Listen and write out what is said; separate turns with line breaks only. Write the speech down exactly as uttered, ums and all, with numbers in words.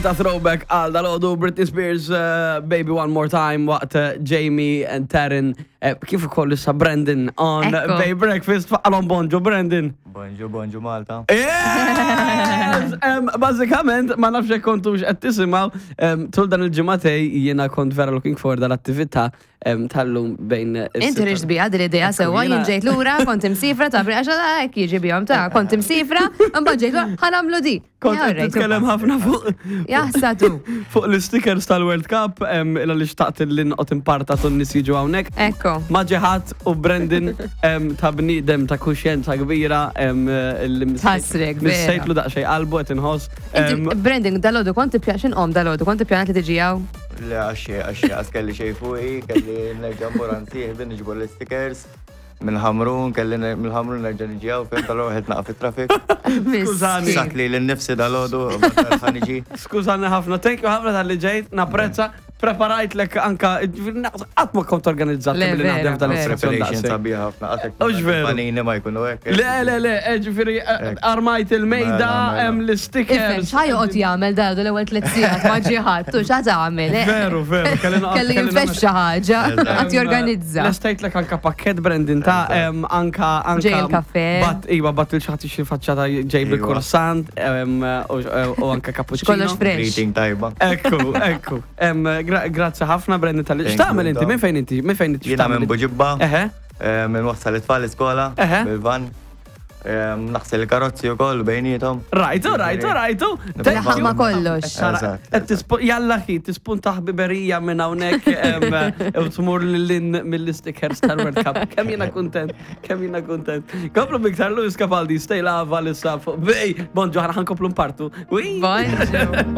Ta' throwback għal dal-għodu Britney Spears, uh, Baby One More Time, waqt uh, Jamie and Taryn, uh, kif ukoll issa Brandon on
Ekku.
Bay Breakfast, faqalhom bonġu Brandon.
Bonġu, bonġu Malta.
Yes! Em, Bażikament, ma nafx jekk kontux qed tisimgħu, em, tul dan il-ġimagħtejn jiena kont vera looking forward dal-attività em, tal-lum bejn
Inti riġt bija din l-idea sewwa,
jiena-
jien ġejt lura, kont imsifra ta' għax hekk jiġi bihom ta' kont imsifra, imbagħad ġejt lura, ħa nagħmlu di.
Kont
Ja,
qed
rejtu.
titkellem ħafna fuq
Jaħsatu.
fuq l-stickers tal-World Cup, em, illa li xtaqt li nqot imparta tun nies jiġu hawnhekk.
Ekko.
Maġiħat u Brandon em, ta' bniedem ta' kuxjenza kbira em, li
Tħassrek, vera.
missejtlu daqsxejn qalbu qed inħoss.
Inti,
Em,
Brandon, dal-għodu kont ippja- x'inqom dal-għodu, kont ippjanat li tiġi hawn?
Le, għaxi, għaxi, għas kelli xej fuqi, kelli nerġa' mmur għand sieħbi niġbor l-stickers. Mill-Ħamrun, kelli mill-Ħamrun nerġa' niġi hawn, fejn tal-għodu naqaf fit-traffic.
Skużani.
Sat li l-nifsi dal-għodu, ħa niġi.
Skużani ħafna, thank you ħafna tal-li ġejt, napprezza, preparajt lek anka, qatt ma kont organizzat
Le,
billi naħdem
vera,
f'dan
vera.
is-sezzjon
Preparation
daqshekk.
sabiħ ħafna. Għatek
Ux veru.
Panini ma jkunu hekk.
Le, le, le, eh, ġifieri, eh, armajt il-mejda,
Mela, mela.
hemm
Ifhem,
l-stickers.
x'ħa joqgħod jagħmel dal l-ewwel tliet sigħat ma ġie ħadd, u x'ħa tagħmel? eh?
Veru, veru, kelli noqgħod-
Kelli
kelli
jinfex xi ħaġa, qed jorganizza.
Lestejt lek anka pakket Brandon ta' em, anka anka
Ġej il-kafè.
Bat, iwa, bat il xaħat xi faċċata ġej
Iwa.
bil-croissant em, u u anka cappuccino.
Kollox fresh.
Greeting tajba.
Ekku, ekku. Em, gra- Grazzi ħafna Brandon tal
Thank
X'tagħmel
you,
inti?
Tom.
Minn fejn inti? Minn fejn inti?
Jiena
x'tagħmel
minn
inti?
Buġibba,
Eħe.
eh, minn wassal it-tfal l-iskola,
Eħe.
bil-van. Eh, Naħsel il-karozzi u koll bejnietom.
Rajtu, rajtu, rajtu.
Laħaq ma kollox.
Eżatt.
Qed tispu- Jalla ħi, tispunta ħbiberija minn hawnhekk em, u tmur lil mill-stickers tal-World Cup. Kemm jiena kuntent, kemm jiena kuntent. Komplu biktar Lewis Capaldi, Stay Lava lissa fuq. Bej, bonġu, ħana ħankomplu npartu. Ui.
Bonġu.